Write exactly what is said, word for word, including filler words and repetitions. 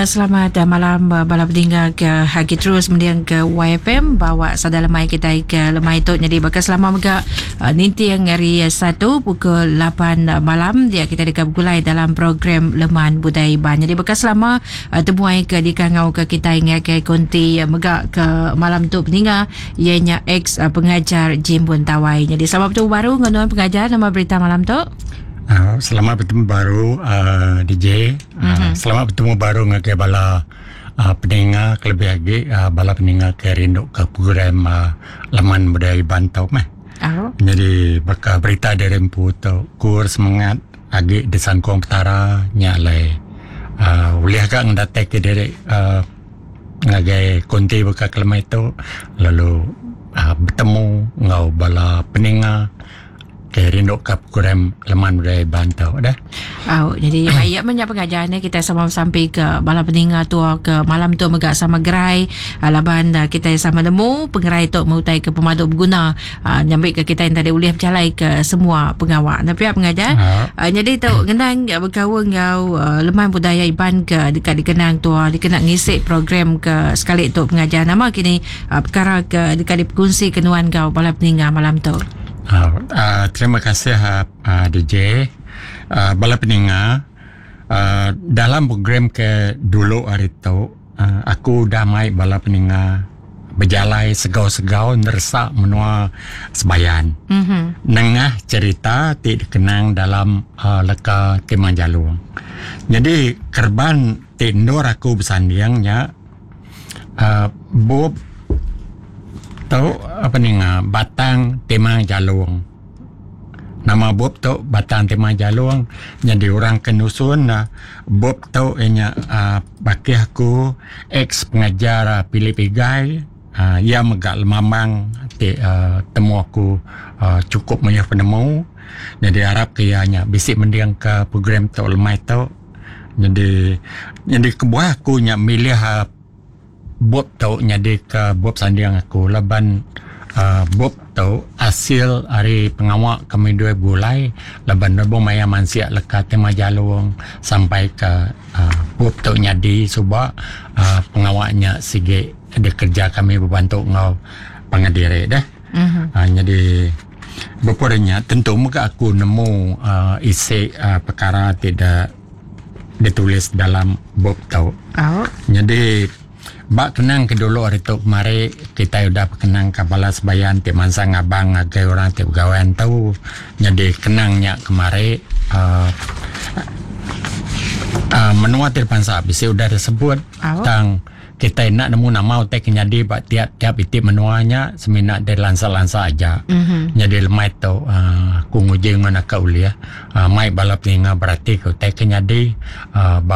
Selamat malam bala peninga ke agi terus mending ke Y F M bawa sada lemai kita ke lemai tu. Jadi bakal selama mega ninting hari satu pukul lapan malam dia kita dekat bergulai dalam program Leman Budaya Iban. Jadi bakal selama temuai ke dikangau ke kita ngagai konti mega ke malam tu peninga ianya ex pengajar Jimbun Tawai. Jadi selamat bertemu baru dengan pengajar, nama berita malam tu. Uh, selamat bertemu baru uh, D J. Uh, mm-hmm. Selamat bertemu baru ngagai bala uh, peninga kelebih lagi uh, bala peninga ke rindu ke program uh, Leman Budaya Iban tau meh. Oh. Jadi bakal berita dari empu tu kur semangat agi disangkong petara nya lai uh, ulih agak ngedatai ke diri uh, ngagai konti bakal kelemai tu lalu uh, bertemu ngau bala peninga ke rindu ke program Leman Budaya Iban tau dah. Oh, jadi ayat banyak pengajar ni kita sama sampai ke bala peninga tu ke malam tu mega sama gerai laban kita sama nemu pengerai tu mengutai ke pemadu berguna uh, nyambi ke kita yang tadi boleh berjalai ke semua pengawak. Nah pihak pengajar uh, jadi tu ngenang berkawan ngau uh, Leman Budaya Iban ke dekat dikenang tu dikena ngisi program ke sekali tu pengajar nama kini uh, perkara ke dekat dikongsi kenuan kau bala peninga malam tu. Uh, uh, terima kasih uh, uh, D J. Uh, bala peninga uh, dalam program ke dulu hari tu uh, aku dah mai bala peninga berjalai segau-segau nersak menua sebayan. Mm-hmm. Nengah cerita ti dikenang dalam uh, leka Timang Jalung. Jadi kerban ti nur aku bersandingnya uh, bub tu apa ni Batang Timang Jalung. Nama bub tu Batang Timang Jalung. Jadi orang kenusun uh, bub tu ianya uh, baki aku ex pengajar uh, Philip Igai uh, ia megak lemambang ti uh, temu aku uh, cukup banyak penemu. Jadi harap ke ianya bisik mendiang ke program tu lemai tu. Jadi jadi kebuah aku nya milih uh, bub tu nyadi ke bub sanding aku laban uh, bub tu hasil hari pengawak kami dua gulai laban rebo maya mansia leka Tema Jalung sampai ke uh, bub tu nyadi suba uh, pengawaknya sige ada kerja kami berbantu ngau pangadire dah. Mm-hmm. Uh, jadi bepornya tentu muka aku nemu uh, isi uh, perkara tidak ditulis dalam bub tu. Oh. Jadi bak kenang ke dulu hari tu kemari kita udah kenang ke bala sebayan ti mansa ngabang ngagai orang ti begawan tu. Jadi kenangnya kemari uh, uh, menua ti pansa bisi udah disebut oh. Tang kita nak nemu nama utai kenyadi bak tiap-tiap itik menuanya semina dari lansa-lansa aja. Mm-hmm. Jadi lemai tu uh, aku nguji ngona ka ulia uh, mai bala peninga berarti ke utai kenyadi uh, bak